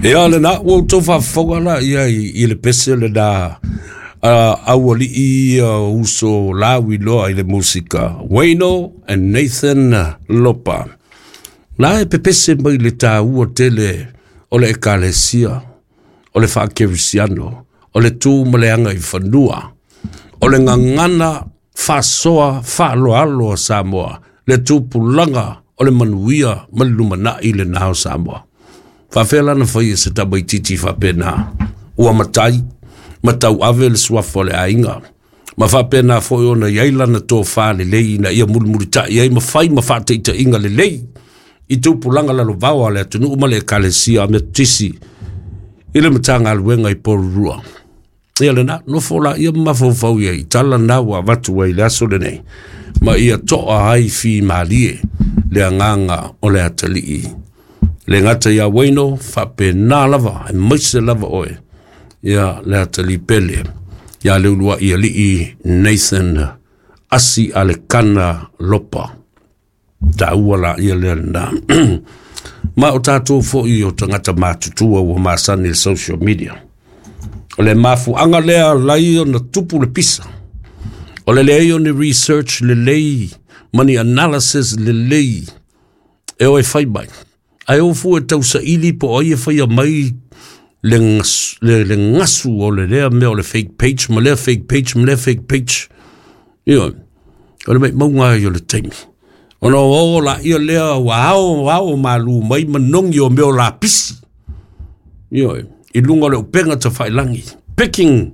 Ia lena, ua outou faafofoga laia i le pese lena aualii ia uso lauiloa i le musika, Wayno and Nathan Lopa. La e pepese mai le taua tele o le ekalesia, o le faakerisiano, o le tu ma le aga i fanua, o le gagana faasoa faaaloalo a Samoa, le tupulaga o le manuia ma le lumanai lena o Samoa. Faafea la ona fai e se tamaitiiti faapena, ua matai, ma tauave le suafa o le aiga, ma faapena foi ona i ai lana tofa lelei ina ia mulimulitai ai ma fai ma faataitaiga lelei i tupulaga lalovaoa a le atunuu ma le ekalesia Metotisi i le Matagaluega i Porirua. Ia lena, nofo laia ma mafaufau i ai i tala na ua avatu ai i le aso lenei, ma ia toa ai fimalie le agaga o le atalii. Le gata ia Wayno, faapena lava, aemaise lava oe, ia le atalii pele, ia le uluai alii Nathan Asi Alekana Lopa. Taua la ia lea lena. Ma o tatou foi o tagata matutua ua masani i le social media. O le mafuaaga lea lai ona tupu le pisa. O le leai o ni research lelei ma ni analysis lelei e o e fai mai. Ae o fua e tausaili po o ai e faia mai le gasu o le lea mea o le fake page ma lea fake page ma lea fake page. Ioe, o le maumauga ai o le taimi. Ona o o laia lea ua ao ao malu mai manogi o mea o lapisi. Ioe, i luga o le upega tafailagi. Picking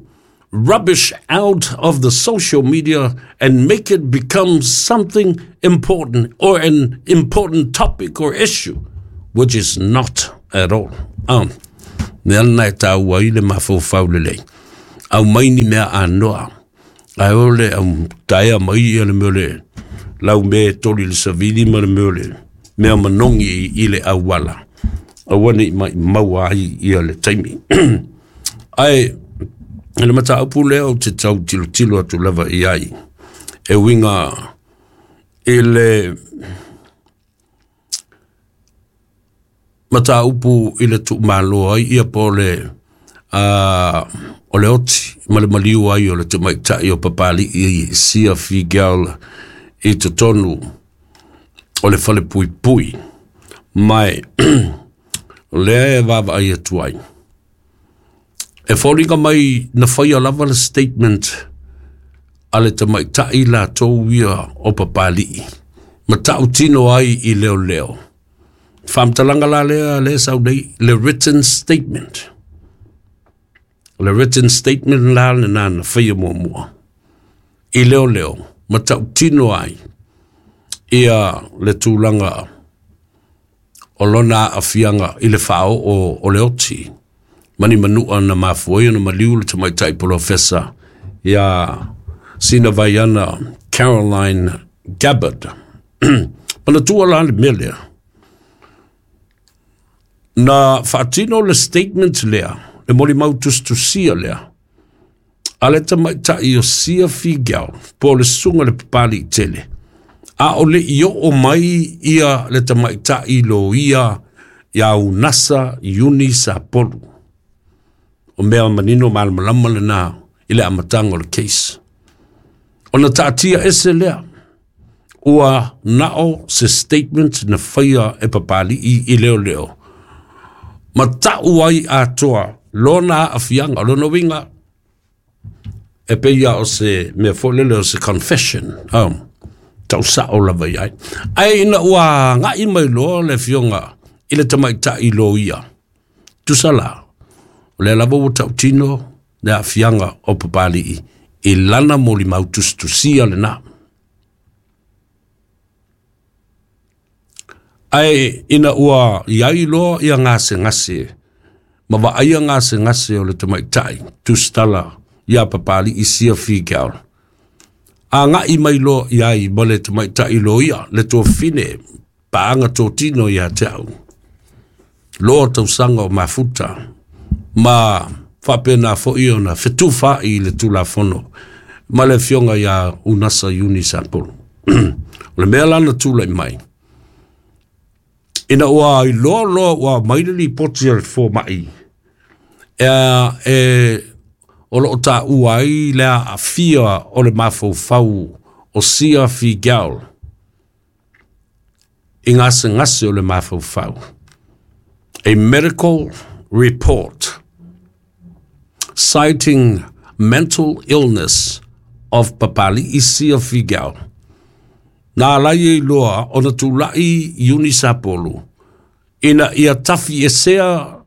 rubbish out of the social media and make it become something important or an important topic or issue, which is not at all. Mea lena e taua ai le mafaufau lelei. Aumai ni mea anoa. Ae o le au taea mai ia le mea o le laumea e toli i le savili ma le mea o le mea manogi i le auala. Aua ne i maumau ai ia le taimi. Ae le mataupu lea ou te tau tilotilo atu lava i ai, e uiga i le mataupu i le tuumalo ai ia po o le o le oti ma le maliu ai o le tamaitai o Papalii Sia Figel i totonu o le falepuipui. Ma o lea e vaavaai atu ai. E foliga mai na faia lava le statement a le tamaitai latou ia o Papalii, ma tautino ai i leoleo. Faamatalaga la lea lea sau nei, le written statement. O le written statement la lena na faia muamua i leoleo, ma tautino ai ia le tulaga o lona aafiaga i le faaoo o le oti. Mani manua na mafua ai ona maliu le tamaitai polofesa ia Sina Vaiana Caroline Gabbard. Manatua la le mea lea. Na faatino le statement lea, le molimau tusitusia lea, a le tamaitai o Sia Figel, po o le susuga i le Papalii tele, a o le i oo mai ia le tamaitai loia ia Unasa Iuni Sapolu. O mea manino malamalama lena i le amataga o le case. Ona taatia ese lea, ua nao se statement na faia e Papalii i leoleo, ma tau ai atoa lona aafiaga, o lona uiga, e pei lava o se mea foi lele o se confession, tau sao lava i ai. Ae ina ua agai mai loa le afioga i le tamaitai loia, tusa la, o lea lava ua tautino le aafiaga o Papalii i lana molimau tusitusia lena. Ae ina ua i ai loa ia gasegase, ma vaaia gasegase o le tamaitai tusitala ia Papalii Sia Figel, agai mai loa i ai ma le tamaitai loia, le tuafafine paaga totino ia te au, loa tausaga o mafuta, ma faapena foi ona fetufaai i le Tulafono ma le afioga ia Unasa Iuni Sapolu. O le mea la na tulai mai, Ina ua iloa loa ua aumai le lipoti a le fomai e o loo taua ai le aafia o le mafaufau o Sia Figiel i gasegase o le mafaufau. A medical report citing mental illness of Papali'i Sia Figiel. Na ala ai e iloa ona tulai Iuni Sapolu ina ia tafi esea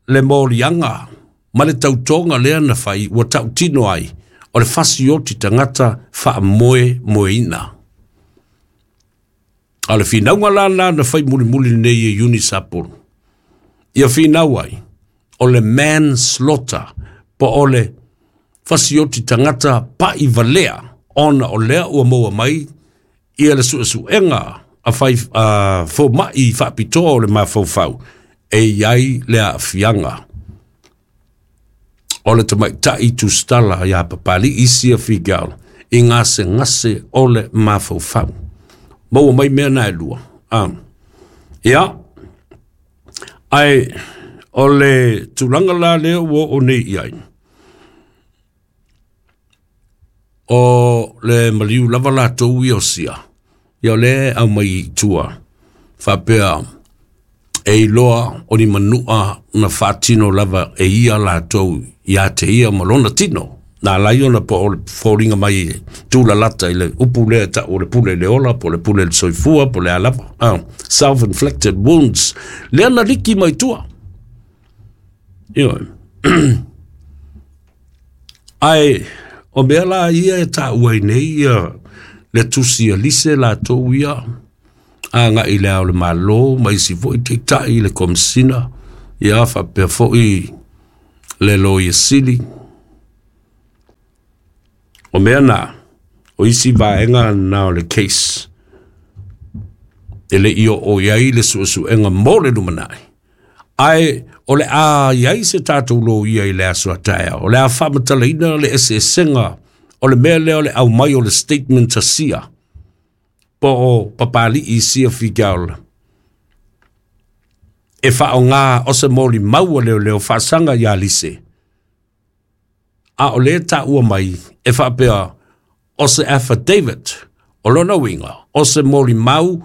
le moliaga ma le tautoga lea na fai ua tautino ai o le fasioti tagata faamoemoeina. A o le finauga la lena na fai mulimuli nei e Iuni Sapolu, ia finau ai o le manslaughter po o le fasioti tagata pai valea, ona o lea ua maua mai ia le suesuega a fai a fomai faapitoa o le mafaufau e i ai le aafiaga o le tamaitai tusitala ia Papali'i Sia Figiel i gasegase o le mafaufau. Maua mai mea na e lua. Ia, ae o le tulaga la lea ua oo nei i ai, o le maliu lava latou ia o Sia, ia o lea e aumai i tua, faapea e iloa o ni manua na faatino lava e ia latou ia te ia ma lona tino. Na ala ai ona po o le foliga mai e tulalata i le upu lea e tau o le pule i le ola, po o le pule i le soifua, po o le a lava. Self-inflicted wounds. Lea na liki mai tua. Ioe. Ae o mea la ia e taua ai nei ia le tusi a Lise latou ia agai i le Ao o le Malo ma isi foi taitai i le Komesina, ia faapea foi le Loia Sili. O mea na, o isi vaega na o le case e le i oo i ai le suesuega mo le lumanai. Ae o le a i ai se tatou loia i le aso a taeao, o le a faamatalaina le eseesega o le mea lea o le aumai o le statement a Sia, po o Papali'i Sia Figiel, e faaaoga o se molimau a leoleo faasaga ia Lise, a o lea e taua mai e faapea o se affidavit, o lona uiga o se molimau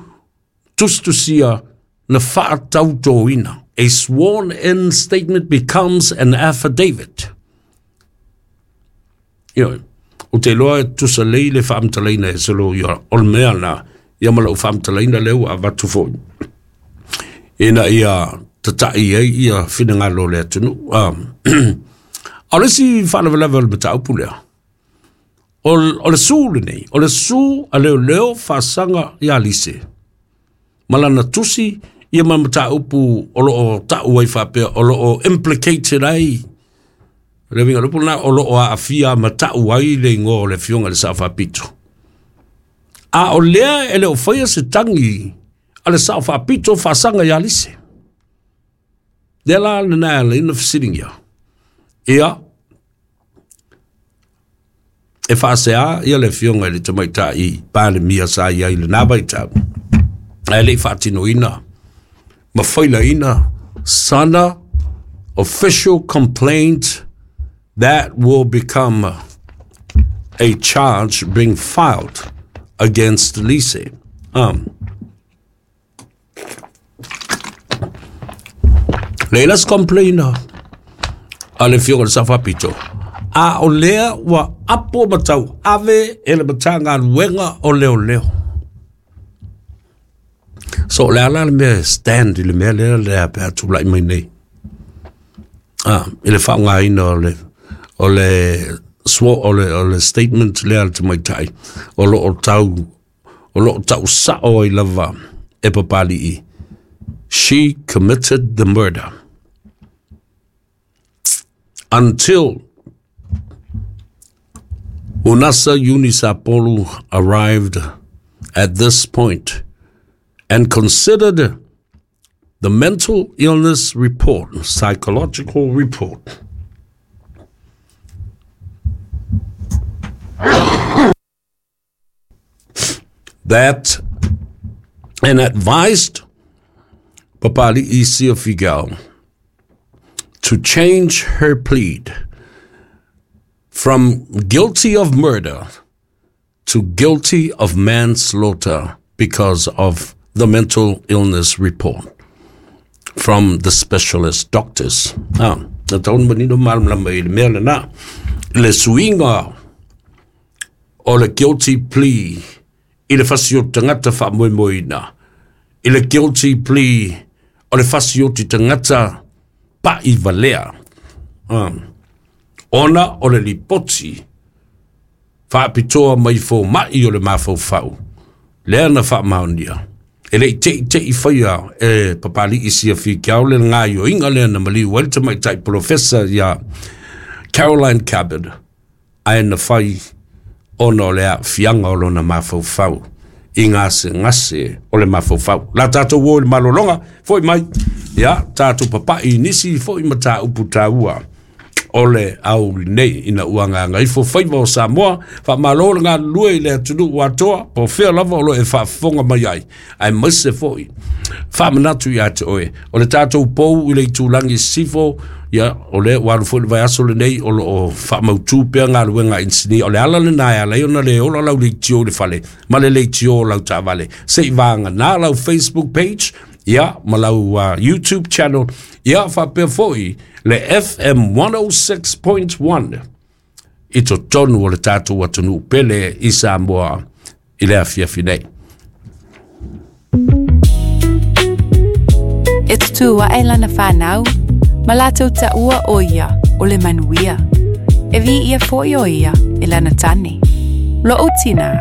tusitusia na faatautoina. A sworn in statement becomes an affidavit. Ioe, ou te iloa e tusa lelei le faamatalaina e se loia o le mea lena, ia ma lau faamatalaina lea ua avatu foi ina ia tatai ai ia finagalo o le atunuu. A o le isi faalavelave o le mataupu lea, o le su lenei, o le su a leoleo faasaga ia Lise ma lana tusi ia ma mataupu o loo tau ai faapea o loo implicated ai le uiga o le upu lena, o loo aafia ma tau ai le igoa o le afioga i le Sao Faapito. A o lea e le o faia se tagi a le Sao Faapito faasaga ia Lise. Lea la lena e ala ai ona fesiligia. Ia, e faasea ia le afioga i le tamaitai Palemia sa i ai i lena vaitau, ae le i faatinoina ma failaina sana official complaint that will become a charge being filed against Lise. Leai la se complain a le afioga i le Sao Faapito, a o lea ua apo ma tauave e le Matagaluega o Leoleo. So o le a la le mea e stand i le mea lea lea pe a tulai mai nei i le faaaogaina o le o le statement lea a le tamaitai o lo o tau o lo o tau sao ai lava e Papali'i, she committed the murder until Unasa Iuni Sapolu arrived at this point and considered the mental illness report, psychological report, that and advised Papali'i Sia Figiel to change her plea from guilty of murder to guilty of manslaughter because of the mental illness report from the specialist doctors. Ah, na taun manino malamalama i le mea lena. Le suiga o le guilty plea i le fasioti tagata faamoemoeina. I le guilty plea o le fasioti tagata pa'i valea. Ah. Ona o le lipoti faapitoa mai foma'i o le mafaufau lea na faamaonia. E le i te'i te'i faia e Papali'i Sia Figiel le gaioiga lea na maliu ai le tamaitai polofesa ia Caroline Cabot, ae na fai ona o le aafiaga o lona mafaufau i gasegase o le mafaufau. La tatou o i le malologa, fo'i mai, ia tatou papa'i i nisi fo'i mataupu taua o le aoauli nei ina ua gagaifo faiva o Samoa. Faamalo le galulue i le atunuu atoa po o fea lava o lo o e faafofoga mai ai, aemaise foi faamanatu iā te oe o le tatou pou i le itulagi sisifo. Ia, o lea ua alu foi le vaiaso lenei o lo o faamautū pea galuega a inisinia. O le ala lenā e ala ai ona lē ola lau leitio i le fale ma le leitio o lau taavale, se i vaganā lau Facebook page, ia, ma lau YouTube channel, ia faapea foi le FM 106.1 i totonu o le tatou atunuu pele i Samoa i le afiafi nei. E tutū aʻe lana fanau, ma latou taʻua ʻo ia o le manuia. E viia foi ʻo ia e lana tane. Loʻu tinā.